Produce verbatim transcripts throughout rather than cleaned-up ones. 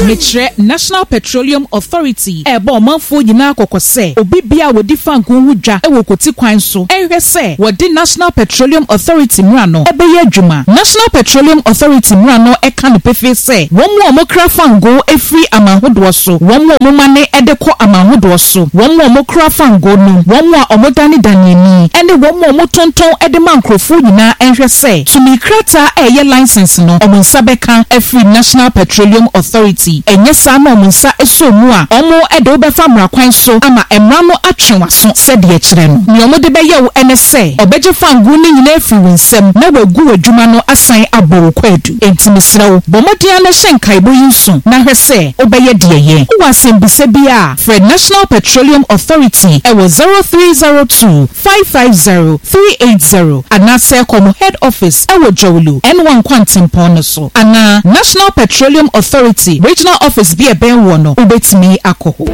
Mekyerɛ National Petroleum Authority ɛrebɔ ɔmanfoɔ nyinaa kɔkɔ sɛ obi bia a wɔdi fangoo ho dwa wɔ koti kwan so ɛnhwɛ sɛ wɔde National Petroleum Authority mmara no ɛbɛyɛ adwuma. National Petroleum Authority mmara no ɛka no pefee sɛ wɔn mu a wɔkra fangoo efiri aman ahodoɔ so, wɔn mu a wɔmane ɛde kɔ aman ahodoɔ so, wɔn mu a wɔkra fangoo no, wɔn mu a wɔdanedane ani, ɛne wɔn mu a wɔtontɔn ɛde ma nkurɔfoɔ nyinaa ɛnhwɛ sɛ tumi krataa a ɛyɛ license no wɔn nsa bɛka afiri National Petroleum Authority. Ɛnyɛ saa na wɔn nsa ɛsɔ mu a, wɔn ɛde wobɛfa mmara kwan so ama mmara no atwe w'aso sɛdeɛ kyerɛ no. Nea wɔde bɛyɛ wo ɛne sɛ ɔbɛgye fangoo no nyinaa afiri wo nsam na wagu w'adwuma no asan abɔ wo kwaadu. Enti mesrɛ wo, bɔ mmɔden ara na hyɛ nkaebɔ yi nso na hwɛ sɛ wobɛyɛ deɛ yɛ. Wowɔ asɛmbisa bi a, frɛ National Petroleum Authority ɛwɔ zero three zero two five five zero three eight zero anaasɛ kɔ mo head office ɛwɔ Dzorwulu N one Kwantempɔn no so anaa National Petroleum Authority regional office bi a ɛbɛn wɔ no, wobɛtumi akɔ hɔ.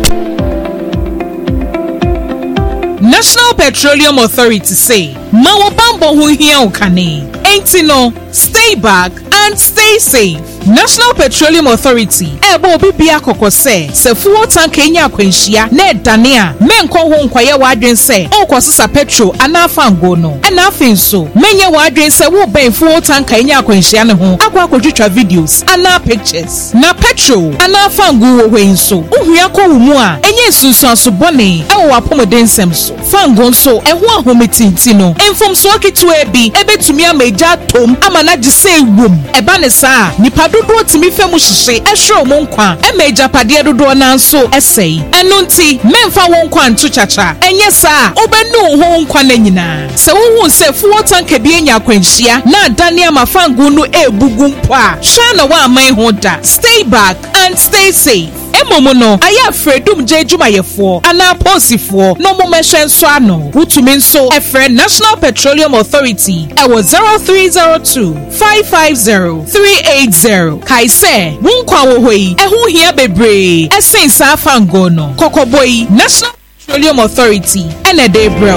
National Petroleum Authority se ma wo bambɔ ho hia wo kane, enti no stay back and stay safe. National Petroleum Authority ɛbɔ obi bia kɔkɔ sɛ sɛ fuel tanker nya akwanhyia na ɛdane a, menkɔ ho nkɔyɛ w'adwen sɛ ɔrekɔsesa petrol anaa fango no. Ɛna afei nso menyɛ w'adwen sɛ wobɛn fuel tanker nya akwanhyia ne ho akɔ akɔtwitwa videos anaa pictures. Na petrol anaa fango wɔ hɔ yi nso, wohua kɔ wo mu a, ɛnyɛ nsunsuanso bɔne ɛwɔ w'apɔmuden nsɛm so. Fango nso ɛho ahometinti no, mfomsoɔ ketewa bi ɛbɛtumi ama egya atom ama n'agye sɛ ewom. Ɛba ne saa, nipa dodoɔ tumi fɛ mu hyehye ɛhwere wɔn nkwa, ɛma agyapadeɛ dodoɔ naa nso ɛsɛe. Ɛno nti mɛmfa wɔn nkwa nto kyakya, ɛnyɛ saa wobɛnu wo ho nkwa no nyinaa. Sɛ wohu sɛ fuel tanker bi anya akwanhyia na adane ama fango no ebugu mpo a, hwɛ na woaman ho da. Stay back and stay safe. Mmom no, ayɛ afrɛdum gye adwumayɛfoɔ anaa polisifoɔ na ɔmo mmɛhwɛ nso ano. Wotumi nso ɛfrɛ National Petroleum Authority ɛwɔ zero three zero two five five zero three eight zero. Kae sɛ wo nkwa wɔ hɔ yi ɛho hia bebree ɛsen saa fango no. Kɔkɔbɔ yi, National Petroleum Authority ɛna ɛde brɛ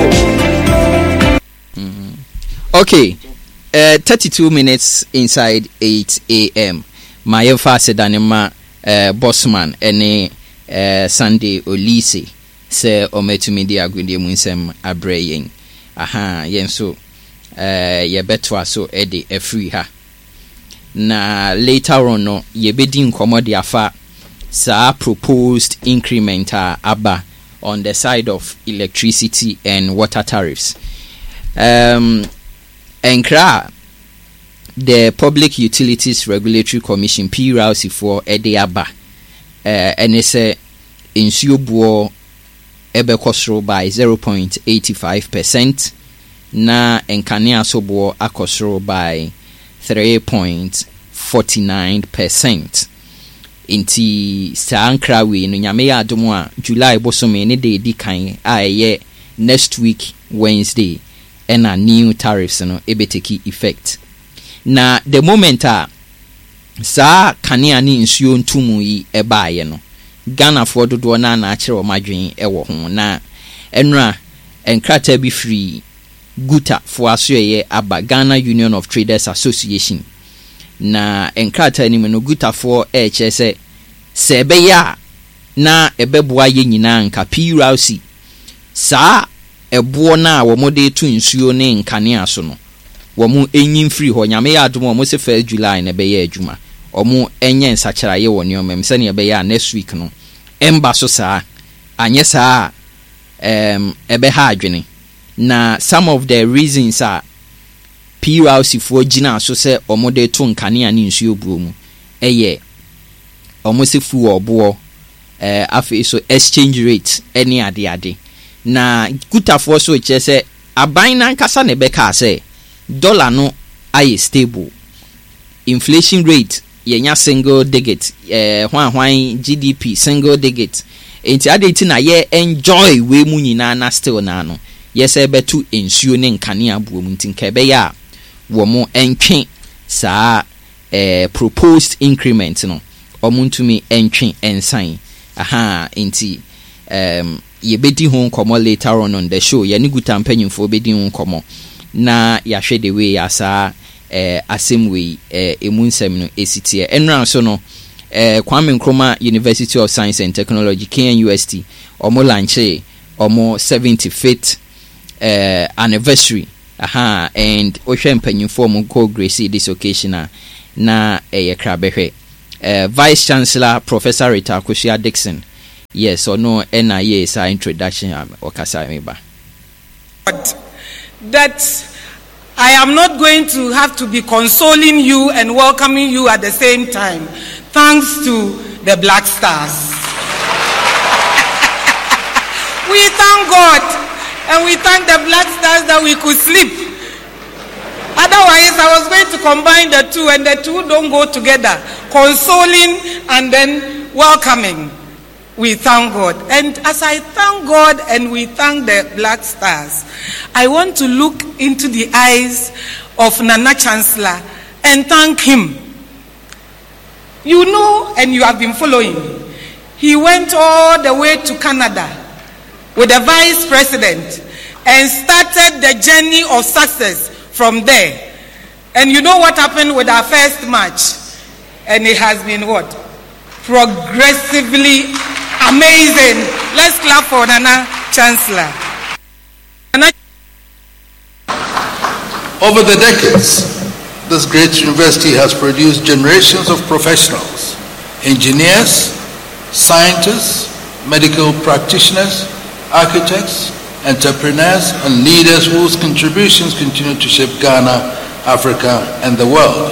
wo. Okay, uh, thirty-two minutes inside eight a m. Ma yɛmfa aseda ne ma uh, Bosman ne uh, Sunday Olise sɛ ɔmatumi de agodie mu nsɛm abrɛ yɛn. Aha, yɛn nso uh, yɛbɛtoa so de afiri ha. Na later on no, yɛbɛdi nkɔmmɔ de afa saa proposed increment a aba on the side of electricity and water tariffs. Um, nkra the Public Utilities Regulatory Commission, P R C foɔ ɛde aba ɛne sɛ nsuo boɔ ɛbɛkɔ soro by zero point eight five percent na nkanea so boɔ akɔ soro by three point four nine percent. Nti saa nkra wei no, Nyame yɛ adom a, July bosome ne de edi kan a ɛyɛ next week Wednesday ɛna new tariffs no ɛbɛtake effect. Na the moment a saa kanea ne nsuo ntomu yi ɛbaeɛ no, Ghanafoɔ dodoɔ no na akyerɛ wɔn adwene ɛwɔ ho. Na ɛnora nkrataa bi firi GUTA foɔ asoɛyɛ aba, Ghana Union of Traders Association. Na nkrataa no mu no, GUTA foɔ ɛrekyerɛ sɛ sɛ ɛbɛyɛ a na ɛbɛboa yɛ nyinaa nka P R C saa ɛboɔ no a wɔde to nsuo ne nkanea so no, wɔn enyi mfiri hɔ. Nyame yɛ adom a, wɔn sɛ first July na ɛbɛyɛ adwuma. Wɔn nyɛ nsakyeraeɛ wɔ nneɛma mu sɛnea ɛbɛyɛ a next week no ɛmba so saa. Anyɛ saa a, ɛɛm ɛbɛha adwene. Na some of the reasons a P R C foɔ gyina so sɛ wɔn de to nkanea ne nsuo buo mu ɛyɛ wɔn sɛ fuel boɔ, ɛɛ afei so exchange rate ɛne adeade. Na GUTA foɔ so kyerɛ sɛ aban nankasa na ɛbɛka sɛ dollar no ayɛ stable, inflation rate yɛnya single digit, ɛɛ hwan hwan G D P single digit, nti adi ti na yɛ enjoy wei mu nyinaa na still na no yɛsɛ bɛto nsuo ne nkanea buo mu. Nti nka ɛbɛyɛ a wɔn ntwe saa ɛɛ proposed increment no, wɔn ntumi ntwe nsan aha. Nti ɛɛm yɛbɛdi ho nkɔmɔ later on on the show. Yɛne GUTA mpanyinfoɔ bɛdi ho nkɔmɔ na yɛahwɛ the way a saa ɛɛ asɛm wei ɛɛ emu nsɛm no esi teɛ. Ɛnura nso no, uh, Kwame Nkrumah University of Science and Technology, K N U S T, ɔmo launch ɔmo seventy-fifth uh, anniversary. Aha, and wohwɛ mpanyinfoɔ ɔmo kɔ grace this occasion a, na ɛyɛ krabɛhwɛ. uh, vice Chancellor Professor Rita Akosua Dixon, yes, ɔno ɛna yɛ saa introduction a ɔkasa mi ba. That I am not going to have to be consoling you and welcoming you at the same time, thanks to the Black Stars. We thank God and we thank the Black Stars that we could sleep. Otherwise, I was going to combine the two, and the two don't go together. Consoling and then welcoming. We thank God. And as I thank God and we thank the Black Stars, I want to look into the eyes of Nana Chancellor and thank him. You know, and you have been following, he went all the way to Canada with the vice president and started the journey of success from there. And you know what happened with our first match? And it has been what? Progressively amazing. Let's clap for Nana Chancellor. Nana. Over the decades, this great university has produced generations of professionals, engineers, scientists, medical practitioners, architects, entrepreneurs, and leaders whose contributions continue to shape Ghana, Africa, and the world.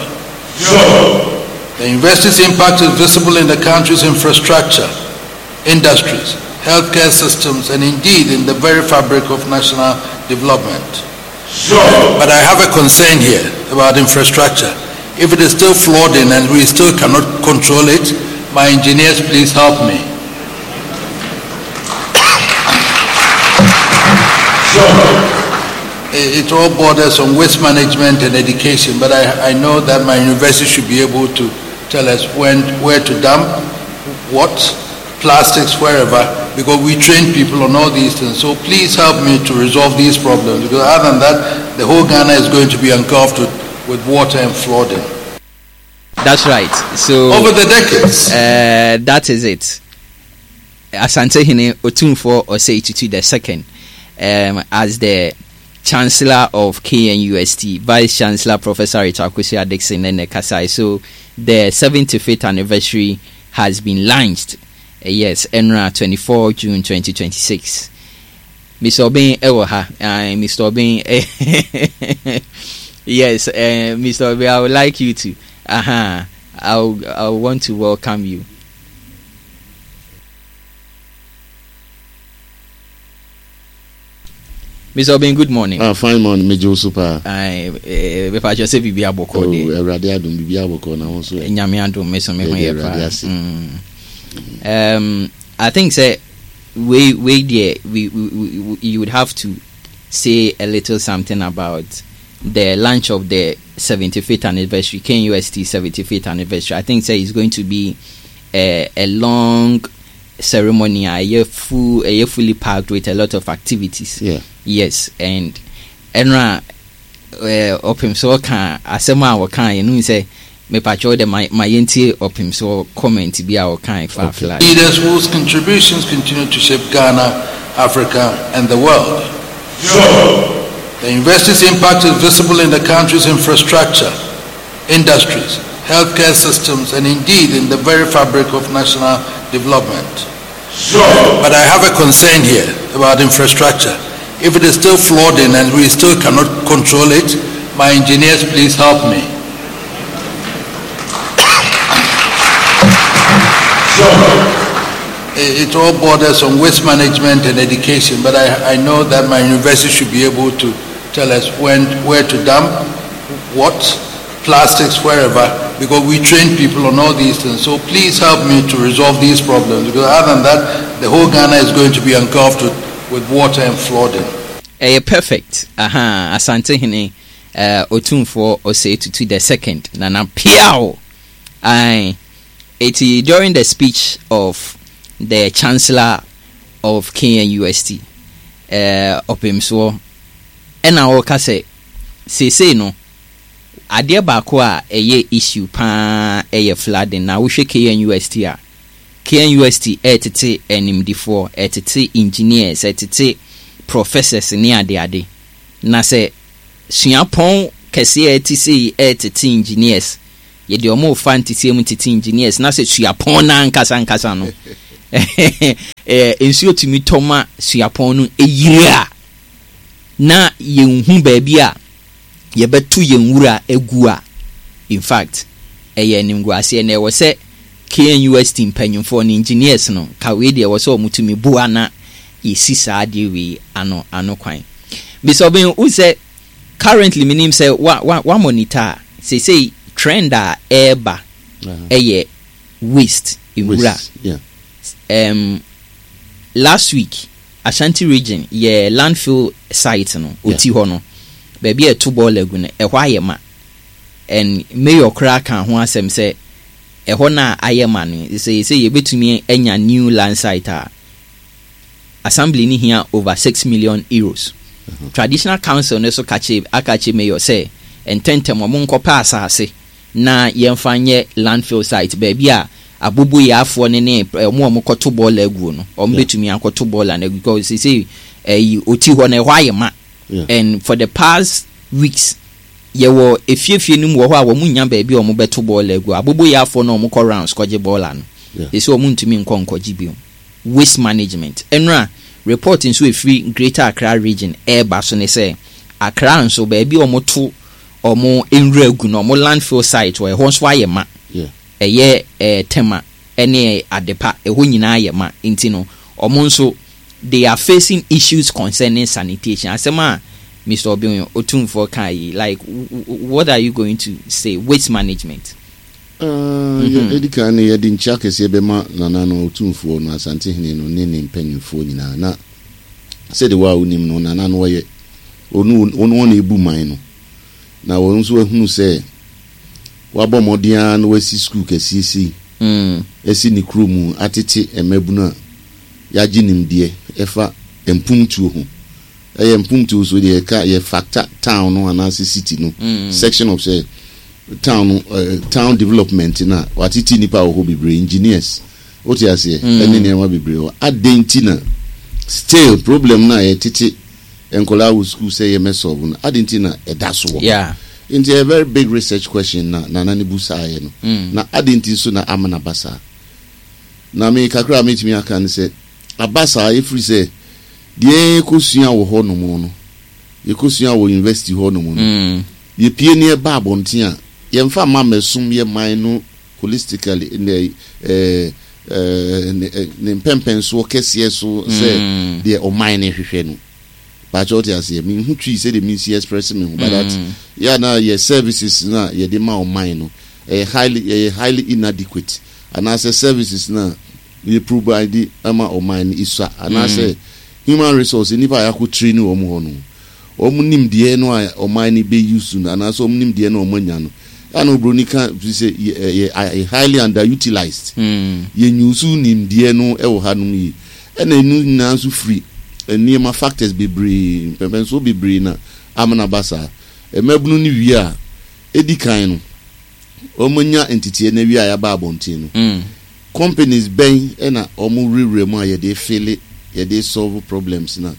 Sure. The university's impact is visible in the country's infrastructure, industries, healthcare systems, and indeed in the very fabric of national development. Sure. But I have a concern here about infrastructure. If it is still flooding and we still cannot control it, my engineers, please help me. Sure. It all borders on waste management and education, but I, I know that my university should be able to tell us when, where to dump, what, plastics, wherever, because we train people on all these things. So please help me to resolve these problems, because other than that, the whole Ghana is going to be engulfed with, with water and flooding. That's right. So over the decades, uh, that is it. Asantehene Otumfuo Osei Tutu the second, um, as the Chancellor of K N U S T, Vice Chancellor Professor Rita Akosua Dixon and Kasai. So the seventy-fifth anniversary has been launched. Uh, yes, ɛnnora twenty-four June twenty twenty-six. Mister Obin ɛwɔ ha. Uh, Mister Obin, yes, uh, Mister Obin, I would like you to. Uh-huh. I I want to welcome you. Mister Obin, good morning. Ah, fine morning, me Joe super. Aye, eh, mepa kyɛw sɛ biribi abɔkɔ de. Oh, Awurade adom, biribi abɔkɔ na ho so. Nyame adom, me so me ho yɛ pa. Mm. Um, I think sɛ we we there we, we, we you would have to say a little something about the launch of the seventy-fifth anniversary, K N U S T seventy-fifth anniversary. I think sɛ it's going to be a, a long ceremony, a year full, a year fully packed with a lot of activities. Yeah. Yes, and ɛnora ɔpem so ɔka asɛm a wɔka yɛn no sɛ mepa kyɛw de ma ma yɛntie ɔpem so comment bi a ɔka fa flood. Leaders whose contributions continue to shape Ghana, Africa, and the world. Sure. The university's impact is visible in the country's infrastructure, industries, healthcare systems, and indeed in the very fabric of national development. Sure. But I have a concern here about infrastructure. If it is still flooding and we still cannot control it, my engineers, please help me. Sure. It all borders on waste management and education, but I, I know that my university should be able to tell us when, where to dump, what, plastics, wherever, because we train people on all these things. So please help me to resolve these problems, because other than that, the whole Ghana is going to be engulfed with, with water and flooding. Ɛyɛ perfect. Aha, Asantehene uh, Otumfoɔ Osei Tutu the second, Nana Piao. Aye. Eti during the speech of the Chancellor of K N U S T, uh, ɔpemsoɔ ɛna ɔka sɛ seesei no Adeɛ baako a ɛyɛ issue paa ɛyɛ flooding. Na wohwɛ K N U S T a, K N U S T ɛɛtete animdifoɔ, ɛtete engineers, ɛtete professors ne adeade. Na sɛ suapɔn kɛseɛ a ɛte sei ɛɛtete engineers, yɛde ɔmo fa nteteɛ mu tete engineers, na sɛ suapɔn no ankasa ankasa no ɛɛ nsuo tumi tɔ ma suapɔn no eyiri a, na yɛnhu baabi a yɛbɛto yɛn wura egu a, in fact ɛyɛ animguaseɛ. Na ɛwɔ sɛ K N U S T mpanyinfoɔ no, engineers no, ka wei deɛ, ɛwɔ sɛ wɔn tumi boa na yɛsi saa adeɛ wei ano ano kwan. Bisɔbɛn wo sɛ currently minim sɛ wa wa wa monitor a, seesei trend a ɛɛba ɛyɛ waste, nwura. Waste, yeah. um, last week Ashanti Region yɛ landfill site no, oti hɔ no, baabi a ɛto bɔɔla agu no, ɛhɔ ayɛ ma, and mayor koraa ka ho asɛm sɛ ɛhɔ no a ayɛ ma no, sɛ sɛ yɛbɛtumi anya new land site a, assembly ni hia over six million euros. Traditional council no so ka kyerɛ, aka kyerɛ mayor sɛ ntɛntɛm ɔmo nkɔpɛ asase na yɛmfa nyɛ landfill site, baabi a aboboyaafoɔ ne ne ɔmo a ɔmo kɔto bɔɔla aguo no, ɔmo Yeah. bɛtumi akɔto bɔɔla no agu, because sɛ ɛyi oti hɔ no, ɛhɔ ayɛ ma. Yeah. And for the past weeks yɛwɔ efiefie no mu wɔ hɔ a wɔn nya baabi a wɔn bɛto bɔɔla agu. Aboboyaafoɔ no a wɔn kɔ rounds kɔgye bɔɔla no, Yeah. esi wɔn ntumi nkɔ nkɔgye bio. Waste management, ɛnura report nso efiri Greater Accra Region ɛɛba so ne sɛ Accra nso, baabi a wɔn to wɔn nwura gu no, wɔn landfill site wɔ ɛhɔ nso ayɛ ma. Yeah. Ɛyɛ ɛɛ Tema ɛne Adepa, ɛhɔ nyinaa yɛ ma. Nti no wɔn nso they are facing issues concerning sanitation. Asɛm a Mister Obin Otumfoɔ kan yi, like w- w- what are you going to say? Waste management. Uh, yɛ- ɛdi kan no, yɛde nkyia kɛseɛ bɛma nana no, Otumfoɔ no, Asantehene no ne ne mpanyimfoɔ nyinaa. Na sɛde wo a wonim no, nana no wɔyɛ ɔno ɔno ɔna ɛbu man no, na wɔn nso ahunu sɛ wabɔ mmɔden ara na wasi sukuu kɛseɛ sei Mm. ɛsi ne kuro mu, atete mmabunu a yɛagye nimdeɛ ɛfa mpumtuo ho. Ɛyɛ mpumtuo so deɛ, yɛka yɛ factor town no anaasɛ city no Mm. section of sɛ town no, uh, town development na watete nipa wɔ hɔ bebree, engineers, wote aseɛ, Mm. ɛne nneɛma bebree wɔ adan. Nti na still problem na yɛtete nkɔlaa wɔ school sɛ yɛmɛ solve no, adi nti na ɛda so wɔ hɔ? Yeah. Nti a very big research question na nana ne bu saa yɛ no. Mm. Na adi nti nso na ama na ba saa? Na me kakra a metumi aka ne sɛ aba saa efiri sɛ deɛ yɛkɔsua wɔ hɔ nom no, yɛkɔsua wɔ university hɔ nom no, Mm. yɛpie ne yɛba abɔnten a, yɛmfa ma mmɛsom yɛ man no holistically, ne ɛɛ ɛɛ ne ne mpɛmpɛnsoɔ kɛseɛ so sɛ Mm. deɛ ɔman no hwehwɛ no. Baakyɛ wote aseɛ, menhu Twi sɛdeɛ mensi express me ho, but that Mm. yɛ na yɛ services na yɛde ma ɔman no ɛyɛ highly ɛyɛ highly inadequate, anaasɛ services na yɛ provide ama ɔman no isua, anaasɛ human resource, nipa a yɛakɔ train wɔn hɔ no, wɔn nimdeɛ no a ɔman no bɛ use no, anaasɛ wɔn nimdeɛ no a wɔn anya no, ɛna obroni ka fi sɛ yɛ yɛ highly underutilized. Mm. Yɛnyusu nimdeɛ no ɛwɔ hanom yi, ɛna ɛnu nyinaa nso firi nneɛma, factors bebree, mpɛmpɛnsoɔ bebree na amana ba saa. Mmabunu no wie a, edi kan no, wɔn anya nteteɛ na wie a, yɛaba abɔnten no, Mm. companies bɛn ɛna wɔn wurawura mu a yɛde fill, yɛde solve problems na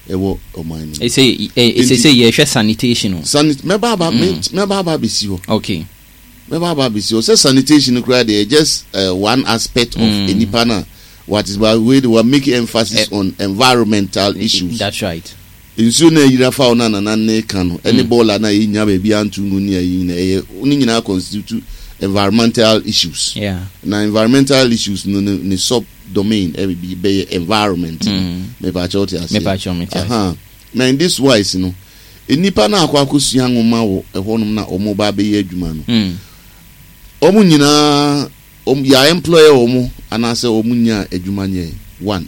ɛwɔ ɔman no mu? Ɛsɛ ɛsɛ sɛ yɛhwɛ sanitation o. Sanit mɛba aba me mɛba aba abɛsi hɔ. Okay. Mɛba aba abɛsi hɔ sɛ sanitation koraa deɛ, just uh, one aspect of mm. nipa na what is, but we we make emphasis uh, on environmental issues. That's right. Nsuo na ayira fa wo na nana ne ka no, ɛne bɔɔla na yɛnya baabi anto ngu ne ayi nyina, ɛyɛ ne nyinaa constitute environmental issues. Yeah. Na environmental issues no, ne ne sub domain ɛbi bi bɛyɛ environment. Mm. Mepakyɛ wote aseɛ? Mepakyɛ, mete ase. Aha. Na in this wise no, nnipa na akɔ akɔsua nwoma wɔ ɛhɔnom na ɔmo ba abɛyɛ adwuma no, Mm. ɔmo nyinaa ɔmo yɛ employer ɔmo anaasɛ ɔmo nya adwuma nyɛ one.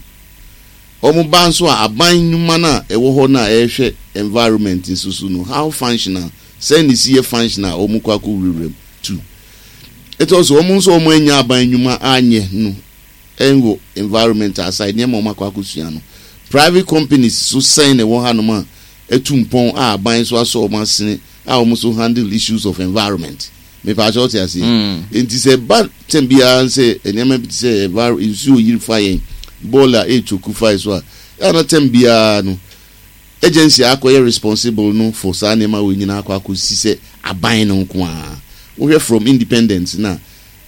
Ɔmo ba nso a, aban nnwuma no a ɛwɔ hɔ no a ɛrehwɛ environment nso so no, how functional, sɛn ne si yɛ functional a ɔmo kɔ akɔ wurawura mu? Two, ɛtɔ so ɔmo nso ɔmo anya aban nnwuma anyɛ no ɛnwɔ environment aside nneɛma ɔmo akɔ akɔsua no, private companies so sɛn na ɛwɔ hanom a ɛtu mpɔn a aban nso asɔ ɔmo asene a wɔn nso handle issues of environment. Mepaakyɛ, ɔte aseɛ? Nti sɛ ba tɛm biara sɛ nneɛma bi te sɛ enviro nsuo yiri fa yɛn, bɔɔla ɛretwoku fa yɛ so a, ɛna tɛm biara no agency a akɔyɛ responsible no for saa nneɛma wɔ nyinaa akɔ akɔsi sɛ aban no nko ara. Wohwɛ from independence na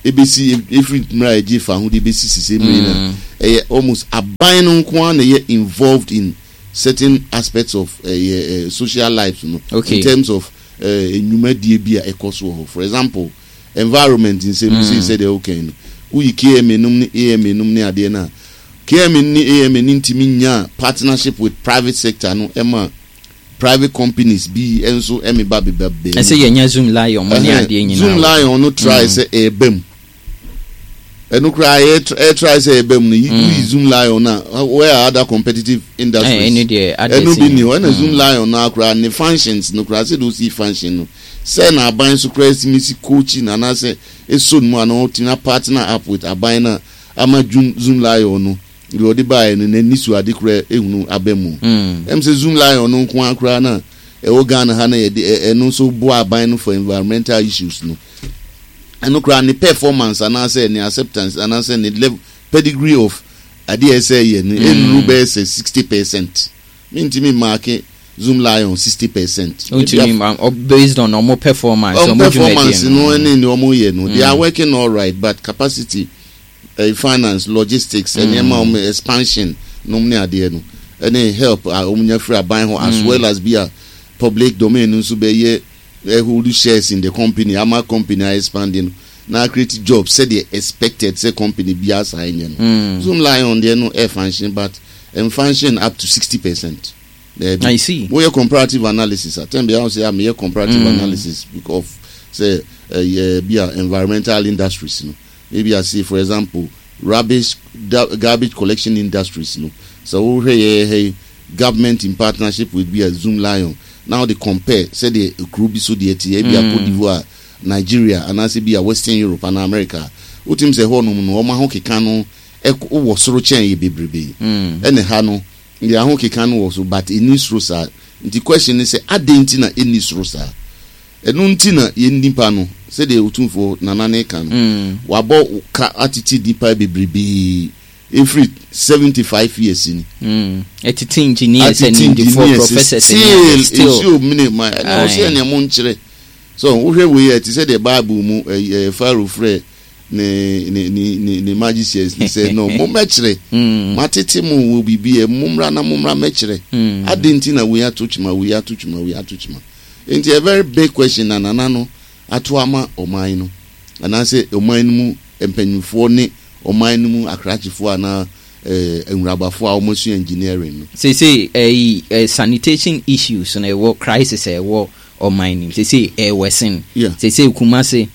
ebesi, efiri mmerɛ a yɛgye fa ho de ebesi sise mmiri na ɛyɛ almost aban no nko ara na ɛyɛ involved in certain aspects of ɛyɛ uh, social life no Okay. in terms of nnwumadie bi a ɛkɔ so wɔ hɔ. For example, environment nsɛm mm. sɛ sɛdeɛ wokɛn no, woyi K M A nom ne A M A nom ne adeɛ no a, K M A ne A M A ne ntumi nya partnership with private sector no, ɛma private companies bi nso ɛme ba beba bɛn. Ɛsɛ yɛnya Zoomlion mo ne adeɛ nyinaa. Zoomlion no try sɛ ɛɛba mu, ɛno koraa ɛyɛ try sɛ ɛɛba mu no, woyi Zoomlion na where are other competitive industries? Ɛno deɛ. Ɛno bi ni hɔ. Ɛna Zoomlion no akora ne functions no koraa, sɛ de osi function no sɛ na aban so koraa esi si coaching anaasɛ eso no mu ana ɔtumi partner up with aban na ama Zoomlion no deɛ ɔde baeɛ no n'ani so ade koraa ehunu aba mu. Ɛm sɛ Zoomlion no nko akora na ɛwɔ Ghana ha na yɛde ɛno nso boa aban no for environmental issues no, ɛno koraa ne performance anaasɛ ne acceptance anaasɛ ne level pedigree of adeɛ ɛsɛ yɛ no ɛnuru bɛyɛ sɛ sixty percent. Mintimi mark Zoomlion sixty percent. Ntumi ma based on ɔmo performance. Ɔmo performance no ɛne ne ɔmo yɛ no, they are working all right, but capacity, uh, finance, logistics, nneɛma ɔmo expansion nom ne adeɛ no, ɛne help a ɔmo nya firi aban hɔ, as well as bi a public domain nso bɛyɛ hold shares in the company ama company a expanding na create jobs sɛdeɛ expected sɛ company bi asa nyɛ no. Zoomlion deɛ no ɛ function, but ɛ function up to sixty percent. I see. Woyɛ comparative analysis atɛn bi ahun sɛ ameyɛ comparative mm. analysis because sɛ ɛyɛ bi a environmental industries no, maybe I say, for example, rubbish, garbage collection industries no, so wohwɛ yɛ hɛ government in partnership with bi a Zoomlion, now they compare sɛdeɛ ekuro bi so deɛ te, ebi a Cote d'Ivoire, Nigeria, anaasɛ bi a Western Europe ana America, wotim sɛ hɔnom no wɔn aho keka no ɛkɔ wɔ soro kyɛn yɛ bebrebe. Ɛna ha no deɛ, aho keka no wɔ so, but ɛni soro saa. Nti question ne sɛ, adɛn nti na ɛni soro saa? Ɛno nti na yɛn nipa no, sɛdeɛ Otumfoɔ Nana ne ka no, Mm. wabɔ ka atete nipa bebrebee efiri seventy five years ni. Mm. Ɛtete engineers, atete animdefoɔ, engineers, professors, still still nsuo mene ma ɛna Aye. ɔsɛ nea mo nkyerɛ so. Wohwɛ wei a, ɛte sɛ deɛ Bible mu ɛyɛ Pharaoh frɛ ne ne ne ne ne magicians ne sɛ no, mo mɛkyerɛ. Mm. Matete mo wɔ biribi ɛ, mommra na mommra mɛkyerɛ. Mm. Adi nti na wei ato kyima, wei ato kyima, wei ato kyima. Nti a very big question na Nana no ato ama ɔman no, anaasɛ ɔman no mu mpanyinfoɔ ne ɔman no mu akrakyefoɔ anaa ɛɛ nwurabafoɔ a wɔn asua engineering no. Seesei ɛyi ɛ sanitation issues na ɛwɔ crisis a ɛwɔ ɔman nim seesei ɛwɔ sen. Yeah. Seesei Kumase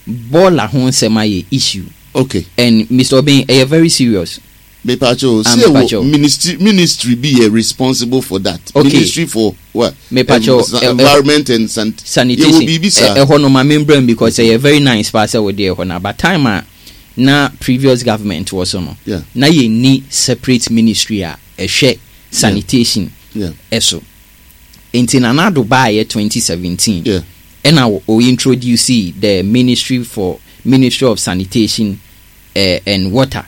bɔɔla ho nsɛm ayɛ issue. Okay and Mister Obeng, ɛyɛ very serious. Mepacho, Ah, say mepacho. wɔ ministry ministry bi yɛ responsible for that. Okay. Ministry for what? Mepacho, Em, sa- eh, eh, environment and san sanitation. Yɛwɔ biribi saa. Ɛ- ɛhɔ no ma membrɛ because ɛyɛ very nice paa sɛ wode ɛhɔ no, but time a na previous government wɔ so no, Yeah. na yɛnni separate ministry a ɛhwɛ sanitation Yeah. ɛso. Nti Nana Addo baayɛ twenty seventeen, Yeah. ɛna o o introduce the ministry for Ministry of Sanitation uh, and Water,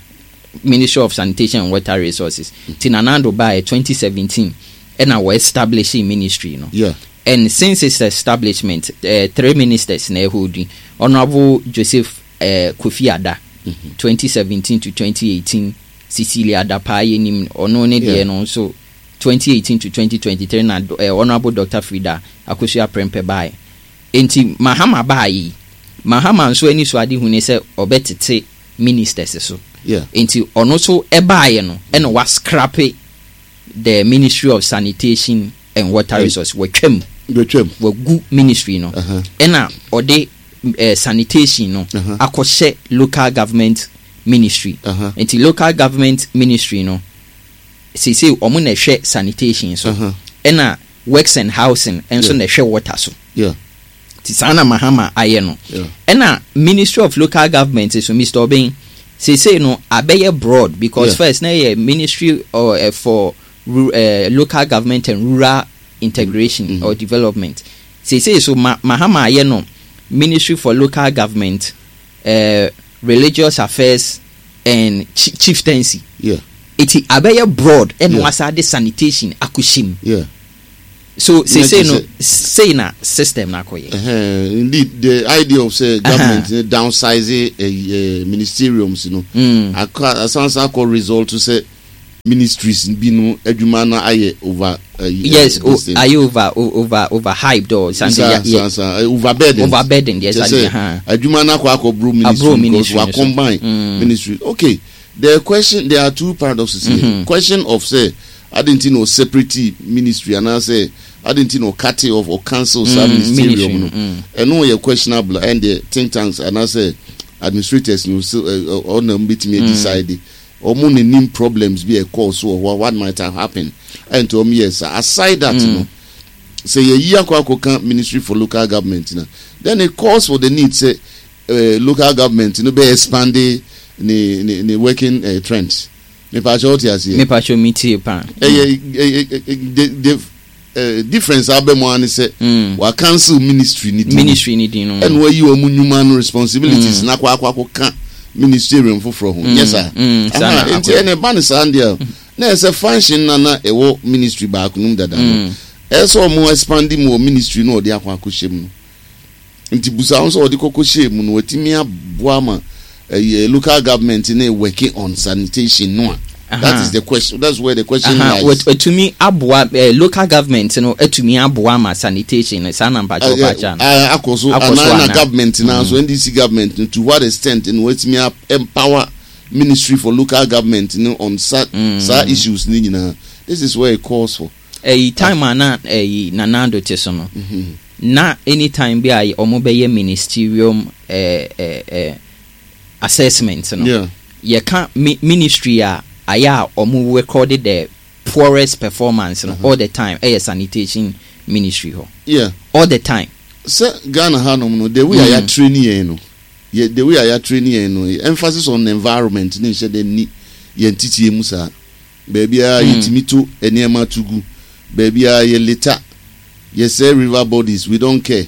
Ministry of Sanitation and Water Resources. Nti Nana Addo baayɛ twenty seventeen ɛna wɔ establish ministry no. Yeah. And since its establishment, uh, three ministers na ɛhɔ di: Honourable Joseph uh, Kofi Adda, twenty seventeen to twenty eighteen; Cecilia Dapaah, yɛnim ɔno ne deɛ Yeah. no nso twenty eighteen to twenty twenty-three; na uh, Honourable Doctor Frida Akosua Prempeh baeɛ. Nti Mahama baeɛ yi, Mahama nso ani so ade hu ne sɛ ɔbɛtete ministers so. Yeah. Nti ɔno nso ɛbaeɛ no, ɛna wascrap the Ministry of Sanitation and Water And- Resources, wɔtwam. Betwam. Wagu ministry no. Uh-huh. Ɛna ɔde eh, sanitation no Uh-huh. akɔhyɛ Local Government Ministry. Uh-huh. Nti Local Government Ministry no seesei ɔmo na ɛhwɛ sanitation so. Uh-huh. Ɛna Works and Housing nso Yeah. na ɛhwɛ water so. Yeah. Nti saa na Mahama ayɛ no. Yeah. Ɛna Ministry of Local Government so, Mister Obeng, seesei no abɛyɛ broad because Yeah. first na yɛ Ministry uh, uh, for ru- uh, Local Government and Rural Integration Mhm. or Development. Seesei so ma Mahama ayɛ no Ministry for Local Government, uh, Religious Affairs and Chieftaincy. Yeah. Eti abɛyɛ broad, ɛna yeah. wasa de sanitation akɔhyɛ mu. Yeah. So seesei no, sei na system na akɔyɛ. Uh, indeed, the idea of say government uh -huh. downsize uh, uh, ministeriums no, mm. asansa akɔ result to say ministries bi no adwuma na ayɛ over. Uh, yes, uh, ayɛ over over over hyped or something. Sa, yeah, sa, sa, overburdened. Overburdened, yes. Sɛ adwuma na akɔ akɔ bro ministry because wa combine mm. ministry. Okay, the question, there are two paradoxes here. Mm -hmm. Question of say, adɛn nti na separate ministry anaasɛ adɛn nti na cut off or cancel saa mm, ministerium no, ɛno yɛ questionable, and the think tanks anaasɛ administrators no so ɔna mo betumi decide ɔmo n'anim problems bi ɛkɔɔ so wɔ hɔ, what might have happened ɛnti ɔmo yɛ sa. Aside that mm. no, sɛ yɛyi akɔ akɔka Ministry for Local Government na then it calls for the need sɛ uh, local government no bɛ expand ne ne ne working uh, trends. Mipakyɛ, wote aseɛ? Mipakyɛ, mi tie paa. Ɛyɛ ɛyɛ the the uh, difference abɛ mu ani sɛ mm. wa cancel ministry ni din. Ministry ni din no. Ɛna wayi wɔn nnwuma no responsibilities mm. na akɔ akɔ akɔ ka ministerium foforɔ ho nyɛ saa? Nti ɛna ɛba ne saa deɛ, na ɛsɛ function na na ɛwɔ ministry baako no mu dada no, ɛsɛ ɔmo expand mu wɔ ministry no ɔde akɔ akɔ hyɛ mu no. Nti busa wɔn sɛ ɔde kɔkɔ hyɛ mu no, watumi aboa ma ɛyɛ local government ne working on sanitation no a, that is the question, that's where the question uh -huh. lies. Etumi aboa eh, local government no etumi aboa ma sanitation no saa na mpakyɛ ɔpakyɛ no? Akɔ so anaa na government na so N D C government no, to what extent no watumi empower Ministry for Local Government no on sa mm. saa issues ni nyinaa? This is where it calls for. Ɛyi time a na ɛyi Nana Addo te so no, na anytime bi a ɔmo bɛyɛ ministerium ɛɛ ɛɛ assessment no, yeah. yɛka mi ministry a ayɛ a ɔmo recorded the poorest performance no uh -huh. all the time ɛyɛ sanitation ministry hɔ. Yeah. All the time. Sɛ Ghana hanom no, the way a yɛ train yɛn no, yɛ the way a yɛ train yɛn no, emphasis on environment ne nhyɛ dɛ ni yɛn titie mu saa. Baabi a yɛtumi to nneɛma to gu, baabi a yɛ litter, yɛsɛ river bodies, we don't care,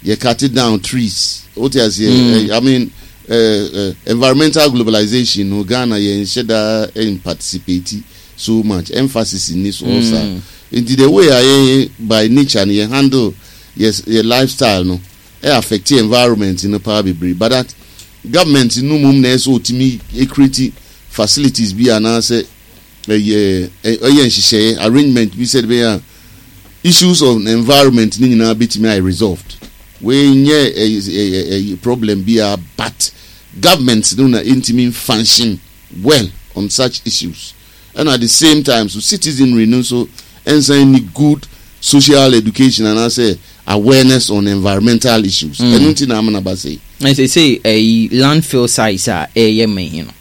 yɛ cut down trees, wote aseɛ? I mean, uh, uh, environmental globalization no, Ghana yɛn nhyɛ da in participate so much, emphasis ni so ɔsa. Nti the way a yɛn by nature no yɛn handle yɛ yɛ lifestyle no ɛ affect environment no paa bebree, but that government no mum na ɛsɛ otumi create facilities bi anaasɛ ɛyɛ ɛyɛ nhyehyɛeɛ, arrangement bi sɛ ɛbɛyɛ a issues of environment ne nyinaa bɛtumi ayɛ resolved. Wei nyɛ ɛyɛ ɛyɛ ɛyɛ problem bi a, but government no na ntumi function well on such issues, and at the same time so citizenry no nso nsan ni good social education anaasɛ awareness on environmental issues. Ɛno nti na amana ba sɛ. Ɛsɛ sɛ ɛyi landfill sites a ɛyɛ mɛyi no,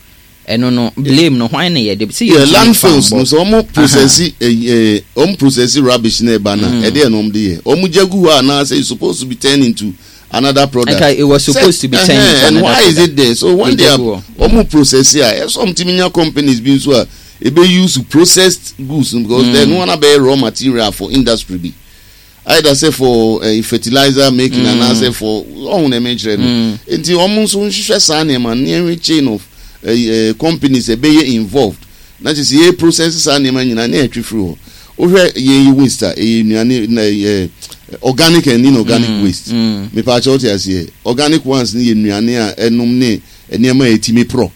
ɛno no blame no hwan na yɛde sɛ? Yeah, landfills no, sɛ ɔmo process ɛɛ ɔmo process rubbish na ɛba na ɛdeɛ na ɔmo de yɛ, ɔmo gya gu hɔ anaasɛ it's supposed to be turned into another product? Okay, it was supposed to be turned into and another why is it there? So when they are ɔmo process a, ɛsɛ ɔmo ti mi nya companies bi nso a ebe use processed goods, because mm. then one abɛyɛ raw material for industry bi, either say for uh, fertilizer making mm. anaasɛ for ɔhun na ɛmɛ kyerɛ no. Nti ɔmo nso nhwehwɛ saa nneɛma nneɛma, chain of uh, uh, companies ɛbɛyɛ involved na kyerɛ sɛ yɛ process saa nneɛma nyinaa ne yɛtwe firi hɔ. Wohwɛ yɛn yi waste a ɛyɛ nnuane na ɛyɛ organic and inorganic mm, waste. Mepaakyɛ, wote aseɛ? Organic ones ne yɛ nnuane a ɛnom ne nneɛma a yɛtumi porɔ,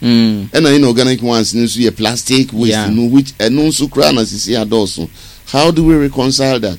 ɛna inorganic ones ne nso yɛ plastic waste Yeah. no, which ɛno nso koraa na sisi adɔɔso. How do we reconcile that?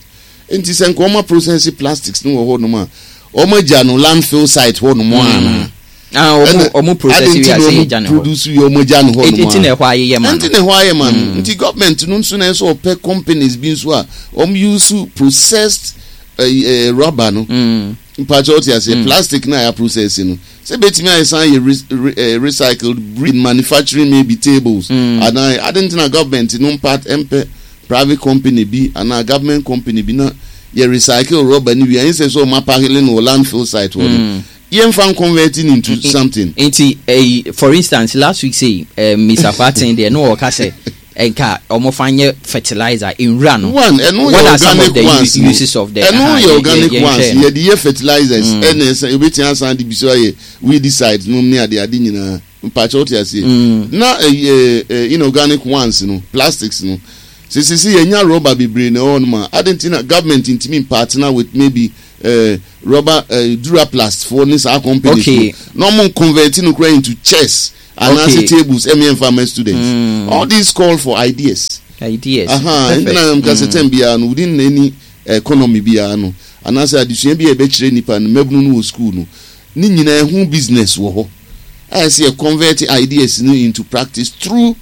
Nti sɛ nka ɔma process plastics no wɔ hɔnom a, ɔma gya no landfill site hɔnom ana? Ah, ɔmo ɔmo process wi ase yɛ gya ne hɔ. Produce wie, ɔmo gya no hɔnom. Eti na ɛhɔ ayeyɛ ma no. Nti na ɛhɔ ayɛ ma no. Nti government no nso na ɛsɛ ɔpɛ companies bi nso a ɔmo use processed uh, uh, rubber no. Mm. Mpakyɛ, ɔte aseɛ? Plastic na yɛ process no, sɛ betumi ayɛ san yɛ re, re, eh, recycled in manufacturing maybe tables mm. anaa adi. Nti na government no mpa mpɛ private company bi anaa government company bi na yɛ recycle rubber ni wi, ɛnyɛ sɛ sɛ ɔmo apahele no wɔ landfill site hɔ no, yɛmfa convert it into something. Nti ɛyi, for instance, last week say uh, Mister Kwaten deɛ no, ɔka sɛ Nka ɔmo fa nyɛ fertilizer nwura no. One, ɛno What yɛ are some of organic the ones u- no. uses of the Ɛno aha, yɛ yɛ- organic yɛ- ones. Yɛnhwɛ no. Yɛde yɛ fertilizers, ɛna ɛsɛ ebetumi asan de bi so ayɛ weedicide nom ne ade ade nyinaa. Mpakyɛ, wote aseɛ? Na ɛyɛ ɛ inorganic ones no, plastics no, sisisi yɛnya rubber bebree na ɛwɔ nom a, adi nti na government ntumi partner with maybe uh, rubber uh, Duraplast foɔ ne saa companies Okay. no, na ɔmo convert no kura into chairs anaasɛ Okay. tables ɛmi ɛnfa ma students. All these call for ideas. Ideas. Aha, Perfect. nti na nka sɛ tɛm biara no, within any economy biara no, anaasɛ adesua bi a yɛbɛkyerɛ nipa no, mmabunu no wɔ school no, ne nyinaa ɛho business wɔ hɔ a yɛsɛ yɛ convert ideas no into practice through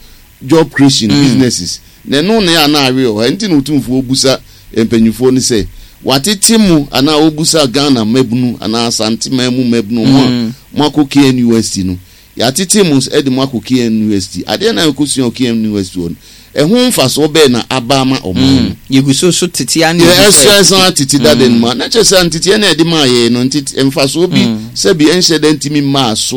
job creation, mm. businesses. Na ɛno na yɛ ana awe wɔ hɔ. Nti na Otumfuo busa mpanyinfoɔ no sɛ watete mu anaa obusa Ghana mmabunu anaa Asanteman mu mmabunu mo a mo akɔ K N U S T no, yɛatete mu ɛde mo akɔ K N U S T, adeɛ na ɛkɔsua wɔ K N U S T hɔ no, ɛho mfasoɔ bɛɛ na aba ama ɔman no? Yɛgu so so tete a ne yɛ yɛgu sɛ- ɛsɛ ɛsan tete dade no ma na kyerɛ sɛ nteteɛ na yɛde maa yɛn no, ntete mfasoɔ bi sɛbi ɛnhyɛ dɛ ntumi mmaa so.